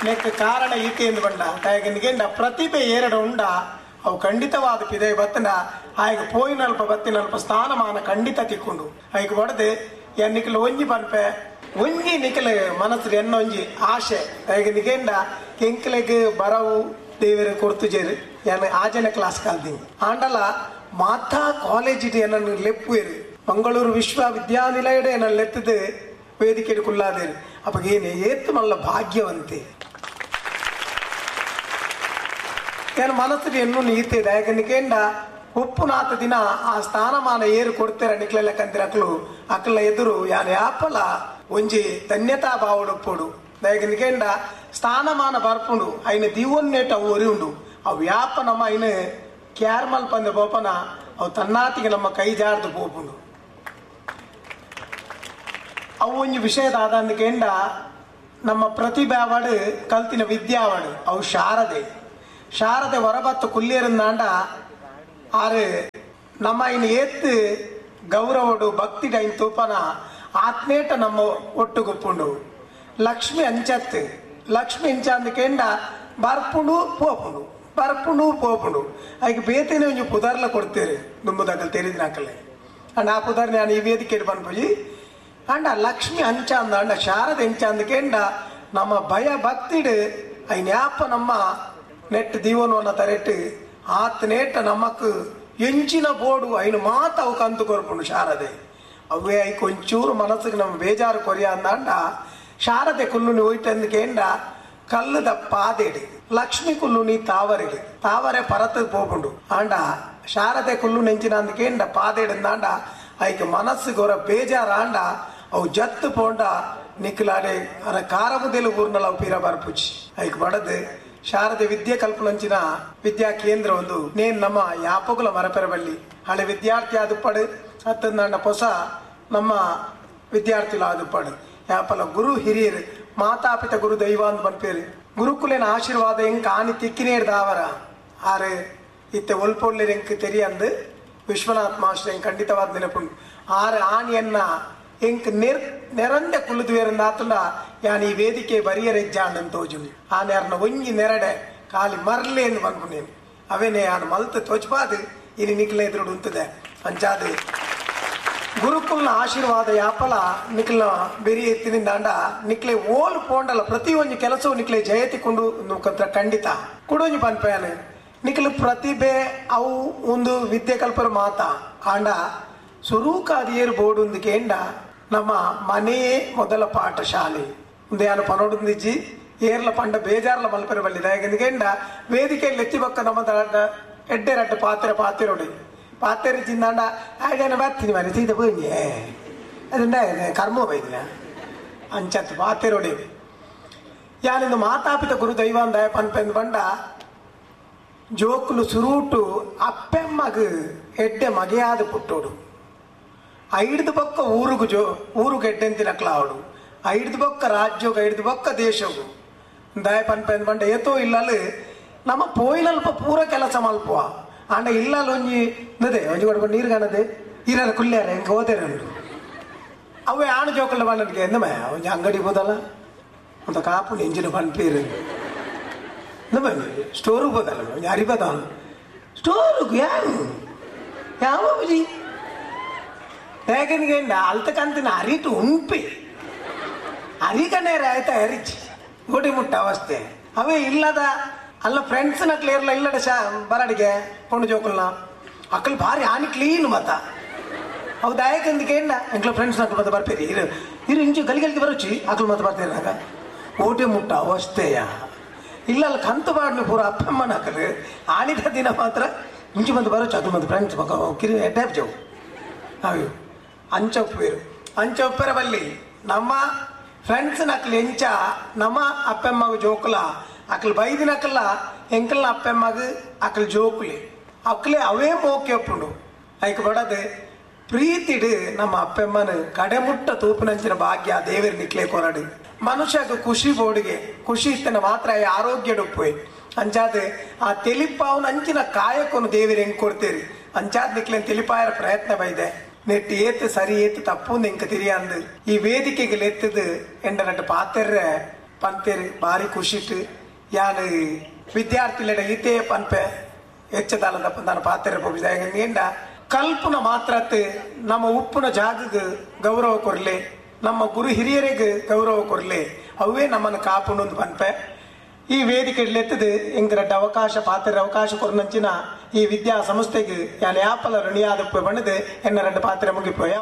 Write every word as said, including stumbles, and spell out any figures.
ನೆಕ್ ಕಾರಣ ಈತೆಂದು ಬಂಡ ತಾಯಗನಿಗೆ ಪ್ರತಿಭೆ ಏರಡ ಉಂಡ ಅವು ಖಂಡಿತವಾದ ಪಿದೆ ಬತ್ತನ ಆಯ್ಗ ಪೋಯಿನಲ್ಪ ಬತ್ತಿನಲ್ಪ ಸ್ಥಾನಮಾನ ಖಂಡಿತ ತಿಕ್ಕೊಂಡು ಐಕ್ ಬಡದೆ ಎನ್ನಿಕಲ್ ಒಂಜಿ ಪನ್ಪೆ ಒಂಜಿ ನಿಕಲ ಮನಸ್ಸು ಎನ್ನೊಂಜಿ ಆಶೆ ತಾಯಗನಿಗೆಂಡ ಎಂಕಲೆಗ್ ಬರವು ದೇವರ ಕೊರ್ತು ಜೇರು ಎನ್ನ ಆಜನೆ ಕ್ಲಾಸ್ ಕಲ್ತೀನಿ ಆಂಡಲ ಮಾತಾ ಕಾಲೇಜ್ ಎನ್ನನ್ನು ಲೆಪ್ಪುವೇರು ಮಂಗಳೂರು ವಿಶ್ವವಿದ್ಯಾನಿಲಯಡೆ ಎನ್ನ ಲೆತ್ತದು ವೇದಿಕೆ ಕುಲ್ಲಾದೇರು ಅಪ್ಪಗೇನೆ ಏತ್ತು ಮಲ್ಲ ಭಾಗ್ಯವಂತೆ ಏನು ಮನಸ್ಸಿಗೆ ಎನ್ನು ನೀತೆ ದಾಯಕನಿಕೇಂಡ ಉಪ್ಪುನಾಥ ದಿನ ಆ ಸ್ಥಾನಮಾನ ಏರು ಕೊಡ್ತೀರ ನಿಕ್ಲೆಲ್ಲ ಕಂತಿರಕ್ಲು ಅಕ್ಲ ಎದುರು ಯಾನ್ ಯಾಪಲ ಒಂಜಿ ಧನ್ಯತಾ ಭಾವಡುಪ್ಪುಡು ದಾಯಕನಿಕೇಂಡ ಸ್ಥಾನಮಾನ ಬರ್ಪುಂಡು ಐನ ದಿವೊನ್ನೇಟ ಅವು ಒರಿ ಉಂಡು ಅವು ಯಾಪ ನಮ್ಮ ಐನ ಕ್ಯಾರ್ಮಲ್ ಪಂದ ಬೋಪನ ಅವು ತನ್ನಾತಿಗೆ ನಮ್ಮ ಕೈ ಜಾರ್ದು ಪೋಪುಂಡು ಅವು ಒಂಜಿ ವಿಷಯದಾದಂದಕೇಂಡ ನಮ್ಮ ಪ್ರತಿಭಾವಡು ಕಲ್ತಿನ ವಿದ್ಯಾವಡು ಅವು ಶಾರದೆ ಶಾರದೆ ಹೊರಬತ್ತು ಕುಲ್ಲಿಯರಿಂದಾಂಡ ಆರು ನಮ್ಮ ಇನ್ನು ಏತ್ತು ಗೌರವಡು ಭಕ್ತಿ ಡೈನ್ ತೂಪನ ಆತ್ಮೇಟ ನಮ್ಮ ಒಟ್ಟುಗುಪ್ಪುಂಡು ಲಕ್ಷ್ಮಿ ಅಂಚತ್ತು ಲಕ್ಷ್ಮಿ ಅಂಚಂದಕೇಂಡ ಬರ್ಪುಂಡು ಪೋಪುಂಡು ಬರ್ಪುಂಡು ಪೋಪುಂಡು ಐಕ್ ಬೇತೇನೆ ಒಂಜಿ ಪುದರ್ಲ ಕೊಡ್ತೀರಿ ದುಂಬುದಕಲ್ ತೆರಿದಿನಾಕಲೆ ಅಂಡ್ ಆ ಪುದರ್ ನಾನು ಈ ವೇದಿಕೆ ಪನ್ಪುಜಿ ಅಂಡ ಲಕ್ಷ್ಮಿ ಅಂಚಂದ ಅಂಡ ಶಾರದೆ ಅಂಚಂದಕೇಂಡ ನಮ್ಮ ಭಯ ಭಕ್ತಿಡು ಐನ್ಯಾಪ ನಮ್ಮ ನೆಟ್ ದೀವನವನ್ನ ತರೆಟ್ಟು ಆತ್ ನೇಟ ನಮಕ್ ಎಂಚಿನ ಬೋಡು ಐನು ಮಾತ ಅವು ಕಂತು ಕೊರ್ಪುಂಡು ಶಾರದೆ ಅವೇ ಐಕ್ ಒಂಚೂರು ಮನಸ್ಸಿಗೆ ನಮ್ಮ ಬೇಜಾರು ಕೊರಿಯ ಅಂದಾಂಡ ಶಾರದೆ ಕುಲ್ಲುನಿ ಹೋಯ್ಟಂದಕೇಂಡ ಕಲ್ಲುದ ಪಾದೇಡು ಲಕ್ಷ್ಮಿ ಕುಲ್ಲುನಿ ತಾವರೆಡು ತಾವರೆ ಪರತ ಪೋಪುಂಡು ಆಂಡ ಶಾರದೆ ಕುಲ್ಲು ನೆಂಚಿನ ಪಾದೇಡಂದಾಂಡ ಐಕ್ ಮನಸ್ಸಿಗೆ ಹೊರ ಬೇಜಾರಾಂಡ ಅವು ಜತ್ತು ಪೋಂಡ ನಿಕ್ಲಾಡೆ ಅರ ಕಾರಮುದೆಲು ಊರ್ನಲ ಅವು ಪೀರ ಬರ್ಪುಚಿ ಐಕ್ ಬಡದು ಶಾರದೆ ವಿದ್ಯೆ ಕಲ್ಪನಂಚಿನ ವಿದ್ಯಾ ಕೇಂದ್ರ ಒಂದು ನೇನ್ ನಮ್ಮ ಯಾಪಗುಲ ಮರಪೆರಬಳ್ಳಿ ಹಳೆ ವಿದ್ಯಾರ್ಥಿ ಆದುಪ್ಪಡು ಅತ್ತಂದಾಂಡ ಹೊಸ ನಮ್ಮ ವಿದ್ಯಾರ್ಥಿಗಳು ಆದುಪ್ಪಡು ಯಾಪಲ ಗುರು ಹಿರಿಯರು ಮಾತಾಪಿತ ಗುರು ದೈವ ಅಂತ ಪನ್ಪೇರು ಗುರುಕುಲೇನ ಆಶೀರ್ವಾದ ಎಂಕ್ ಆನಿ ತಿಕ್ಕಿನೇರ್ ದಾವರ ಆರು ಇತ್ತೆ ಒಲ್ಪೊಲ್ಲೇರ್ ಎಂಕ್ ತೆರಿಯಂದು ವಿಶ್ವನಾಥ್ ಮಾಸ್ಟರ್ ಎಂಕ್ ಖಂಡಿತವಾದ ನೆನಪುಂಡು ಆರು ಆನಿಯನ್ನ ಎಂಕ್ ನೆರ್ ನೆರಂದೆ ಕುಲ್ಲುದುವೇರಂದಾತುಂಡ ಯಾನ್ ಈ ವೇದಿಕೆ ಬರಿಯರೆಜ್ಜಾಂಡನ್ ತೋಜುನಿ ಆ ನೇರ್ನ ಒಂಜಿ ನೆರಡೆ ಖಾಲಿ ಮರ್ಲೆ ಎಂದು ಪನ್ಪುನೇನು ಅವೇನೆ ಯಾನ್ ಮಲ್ತ್ ತೋಚ್ಪಾದು ಇನಿ ನಿಕ್ಲ ಎದುರುಡು ಉಂತದೆ ಅಂಚಾದು ಗುರುಕುಲ್ನ ಆಶೀರ್ವಾದ ಯಾಪಲ ನಿಕ್ಲ ಬೆರಿ ಎತ್ತಿನಿಂದಾಂಡ ನಿಕ್ಲೆ ಓಲ್ ಪೋಂಡಲ ಪ್ರತಿ ಒಂಜಿ ಕೆಲಸವು ನಿಕ್ಲೆ ಜಯತಿ ಕೊಂಡು ಖಂಡಿತ ಕುಡೊಂಜಿ ಪನ್ಪೇನು ನಿಕ್ಲು ಪ್ರತಿಭೆ ಅವು ಒಂದು ವಿದ್ಯೆ ಕಲ್ಪರ ಮಾತಾ ಆಂಡ ಸುರೂಕಾದಿಯರು ಬೋಡುಂದು ಕೇಂಡ ನಮ್ಮ ಮನೆಯೇ ಮೊದಲ ಪಾಠಶಾಲೆ ಒಂದು ಯಾನು ಪನೋಡುಂದಿಜ್ಜಿ ಏರ್ಲ ಪಂಡ ಬೇಜಾರ್ಲ ಮಲ್ಪೆರ ಬಳ್ಳಿ ದಾಯಕಂದ ವೇದಿಕೆಯಲ್ಲಿ ಎತ್ತಿ ಬಕ್ಕ ನಮ್ಮ ಎಡ್ಡೆ ರಡ್ಡು ಪಾತ್ರೆ ಪಾತಿರೋಡಿ ಪಾತ್ರೆ ಚಿಂದಾಂಡ ಆಯ್ದಾನ ಬರ್ತೀನಿ ಮನೆ ಸೀದ ಪೂಂಜೆ ಅದುಂಡ ಕರ್ಮ ಬೈದಿನ ಅಂಚತ್ತು ಪಾತಿರೋಡಿ ಯಾನಿಂದು ಮಾತಾಪಿತ ಗುರು ದೈವಾಂದಾಯ ಪನ್ಪೆಂದು ಬಂಡ ಜೋಕುಲು ಸುರೂಟು ಅಪ್ಪೆಮ್ಮಗು ಎಡ್ಡೆ ಮಗೆಯಾದ ಪುಟ್ಟೋಡು ಐದು ಬೊಕ್ಕ ಊರುಗು ಜೋ ಊರುಗು ಎಡ್ಡೆಂತಿನಕ್ಲಾವಡು ಐದು ಬೊಕ್ಕ ರಾಜ್ಯೋಗ ಐದು ಬೊಕ್ಕ ದೇಶಗು ದಯ ಪನ್ಪೆಂದು ಬಂಡ ಏತೋ ಇಲ್ಲಲು ನಮ್ಮ ಪೋಯಿನಲ್ಪ ಪೂರ ಕೆಲಸ ಮಲ್ಪುವ ಆಂಡ ಇಲ್ಲಲ್ಲ ಒಂಜಿ ನದೆ ಒಂಜಿ ಕೊಡ್ಬ ನೀರು ಕಾಣದೆ ಇರಲ್ಲ ಕುಲ್ಯಾರ ಹೆಂಗೆ ಹೋದೇರ ಉಂಡು ಅವೇ ಆಣು ಜೋಕಲ್ಲ ಬಂಡನಿಗೆ ಎಂದಮ ಒಂಜಿ ಅಂಗಡಿ ಹೋದಲ್ಲ ಅಂತ ಕಾಪು ಎಂಜಿನ ಪನ್ಪೀರು ನಮ್ಮ ಸ್ಟೋರಿಗೆ ಹೋದಲ್ಲ ಒಂಜಿ ಅರಿಬದ ಸ್ಟೋರಿಗೆ ಯಾರು ಯಾವ ಬುಜಿ ಯಾಕಂದ್ರೆ ಅಲ್ತಕಂತಿನ ಅರಿಟು ಉಂಪಿ ಅರಿಕನೇ ಆಯ್ತಾ ಅರಿಚಿ ಗೋಟಿ ಮುಟ್ಟ ಅವಸ್ಥೆ ಅವೇ ಇಲ್ಲದ ಅಲ್ಲ ಫ್ರೆಂಡ್ಸ್ ನಕ್ಲು ಇರಲ್ಲ ಇಲ್ಲಡ ಶಾ ಬರಡಿಗೆ ಪೊಣ್ಣು ಜೋಕುಲ್ನ ಅಕ್ಕಲು ಭಾರಿ ಆನಿ ಕ್ಲೀನ್ ಮತ್ತ ಅವು ದಾಯಕಂದಿಗೆ ಏನ ಎಂಕ್ಲ ಫ್ರೆಂಡ್ಸ್ ನಕ್ಲು ಮತ್ತೆ ಬರ್ತೀರಿ ಇರು ಇರು ಇಂಚು ಗಲಿ ಗಲಿಗೆ ಬರೋಚಿ ಅಕ್ಕಲು ಮತ್ತೆ ಬರ್ತೀರಿ ನಾಗ ಓಟೆ ಮುಟ್ಟ ಅವಸ್ಥೆಯ ಇಲ್ಲ ಅಲ್ಲ ಕಂತು ಬಾಡ್ನು ಪೂರ ಅಪ್ಪಮ್ಮನ ಹಾಕಲು ಆನಿದ ದಿನ ಮಾತ್ರ ಇಂಚು ಬಂದು ಬರೋಚು ಅಕ್ಕಲು ಮತ್ತೆ ಫ್ರೆಂಡ್ಸ್ ಪಕ್ಕ ಕಿರಿ ಎಡ್ಡಾಪ್ ಜವು ಅವು ಅಂಚೊಪ್ಪೇರು ಅಂಚೊಪ್ಪರ ಬಲ್ಲಿ ನಮ್ಮ ಫ್ರೆಂಡ್ಸ್ ನಕ್ಲು ಎಂಚ ನಮ್ಮ ಅಪ್ಪಮ್ಮಗ ಜೋಕುಲ ಅಕ್ಲು ಬೈದಿನಕಲ್ಲ ಎಂಕಲ್ನ ಅಪ್ಪಮ್ಮಗ ಅಕ್ಲು ಜೋಕುಲಿ ಅಕ್ಲೆ ಅವೇ ಮೋಕೆ ಒಪ್ಪುಂಡು ಐಕ್ ಬಡದು ಪ್ರೀತಿಡು ನಮ್ಮ ಅಪ್ಪಮ್ಮನ ಕಡೆಮುಟ್ಟ ತೂಪಿನಂಚಿನ ಭಾಗ್ಯ ದೇವರು ನಿಕ್ಲೆ ಕೊರಡು ಮನುಷ್ಯಗ ಖುಷಿ ಬೋಡಿಗೆ ಖುಷಿ ಇತ್ತನ ಮಾತ್ರ ಆರೋಗ್ಯ ಅಂಚಾದ ಆ ತೆಲಿಪಾವನ ಅಂಚಿನ ಕಾಯಕೊನು ದೇವರು ಹೆಂಗ್ ಕೊಡ್ತೀರಿ ಅಂಚಾದ ನಿಕ್ಲೇನ್ ತಿಳಿಪಾಯರ ಪ್ರಯತ್ನ ಬೈದೆ ನೆಟ್ಟು ಏತು ಸರಿ ಏತು ತಪ್ಪು ಎಂಕ ತಿರಿಯಂದು ಈ ವೇದಿಕೆಗೆ ಎತ್ತದು ಎಂಡ ನಟ್ಟು ಪಾತೆರ್ರೆ ಪಂತೇರು ಭಾರಿ ಖುಷಿಟ್ ಯಾನ್ ವಿದ್ಯಾರ್ಥಿಲೆಡ ಈತೇ ಪನ್ಪೆ ಹೆಚ್ಚದಾಲದ ನಾನು ಪಾತ್ರೆ ಪೋಪಿದ ಕಲ್ಪುನ ಮಾತ್ರತ್ ನಮ್ಮ ಉಪ್ಪುನ ಜಾಗಗ್ ಗೌರವ ಕೊರ್ಲೆ, ನಮ್ಮ ಗುರು ಹಿರಿಯರಿಗೆ ಗೌರವ ಕೊರ್ಲೆ, ಅವೇ ನಮ್ಮನ್ನು ಕಾಪುಂಡು ಪನ್ಪೆ. ಈ ವೇದಿಕೆ ಎತ್ತದು ಎಂಕ್ ಅವಕಾಶ ಪಾತ್ರ ಅವಕಾಶ ಕೊರ್ನಂಚಿನ ಈ ವಿದ್ಯಾ ಸಂಸ್ಥೆಗೆ ಯಾನ್ ಯಾಪಲ ಋಣಿಯಾದ ಬಣ್ಣದು ಎನ್ನ ಎರಡು ಪಾತ್ರೆ ಮುಗಿಪೋಯ.